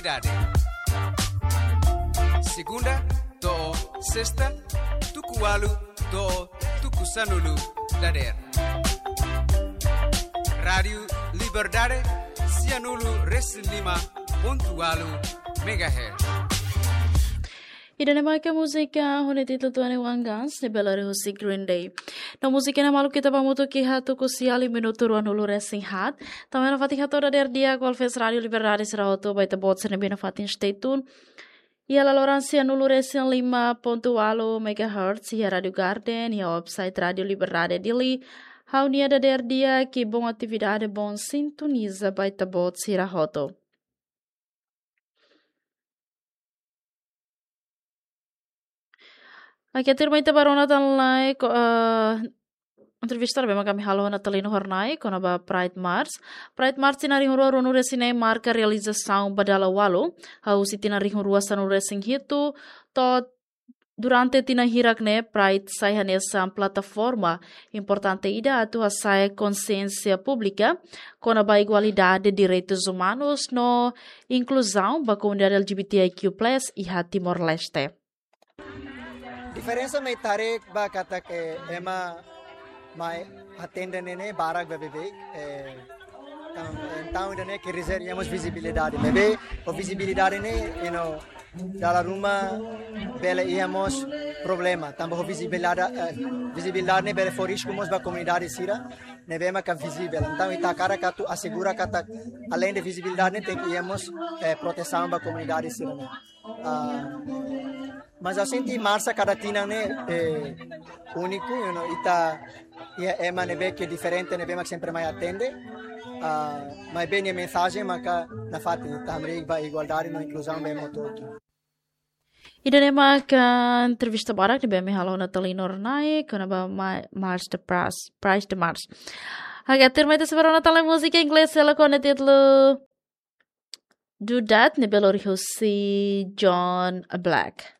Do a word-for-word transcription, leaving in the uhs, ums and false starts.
Liberdade. Segunda to'o sesta, tuku ualu to'o tuku sanulu dadeer. Rádiu Liberdade, sianulu resin lima pontu ualu megahertz. Ida-ne'e maka múzika ho nia títulu Twenty-One Guns, ne'ebé lori husi Green Day. No múzika ne'e maluk ita ba hamutuk iha tuku sia liu minutu ruanulu resin haat. Tanba ne'e nafatin hato'o dadeer di'ak ba ouvinte Rádiu Liberdade sira hotu, ba ita-boot sira ne'ebé nafatin stay tune iha laloran sianulu resin lima pontu ualu megahertz, iha Rádiu Garden, iha website Rádiu Liberdade Dili. Ha'u-nia dadeer di'ak, bom atividade, bom sintoniza ba ita-boot sira hotu. Oke, tuirmai ita ba rona tan lai, ko, eh, entrevista ne'ebé mak ami halo ho Natalino Hornai, kona-ba Pride March. Pride March tinan rihun rua ruanulu resin neen marka realizasaun ba dala ualu, hahú husi tinan rihun rua sanulu resin hitu, to'o durante tinan hirak ne'e, Pride sai hanesan plataforma importante ida atu hasa'e konsiénsia públika kona-ba igualdade, direitus umanus no inkluzaun ba komunidade L G B T I Q plus iha Timor-Leste. Diferensa mai tarik ba katak ema mai atende ne'e barak ba beibeik, eh, entaun, entaun ida-ne'e ke rezerva iha mós vizibilidade. Maibé, ho vizibilidade ne'e, you know, dala ruma bele iha mós problema. Tanba ho vizibilidade, eh, vizibilidade ne'e bele fó risku mós ba komunidade sira ne'ebé maka vizivel. Entaun, ita hakarak atu asegura katak, além de vizibilidade ne'e, tenke iha mós, eh, protesaun ba komunidade sira ne'e. Ah, mas ha'u sente marsa kada tinan ne'e, eh, úniku, you know, ita iha ema ne'ebé ke diferente ne'ebé mak sempre mai atende. Ah, maibé nia mensajen maka nafatin, ita hamriik ba igualdade no inkluzaun ba ema hotu-hotu. Ida-ne'e maka entrevista badak ne'ebé ami halo ho Natalino Hornai, kona-ba ma-, March the Pras-, Pride the March. Oke, tuirmai ita sei ba rona tan lai múzika inglés hela ho nia títulu Do That, ne'ebé lori husi John Black.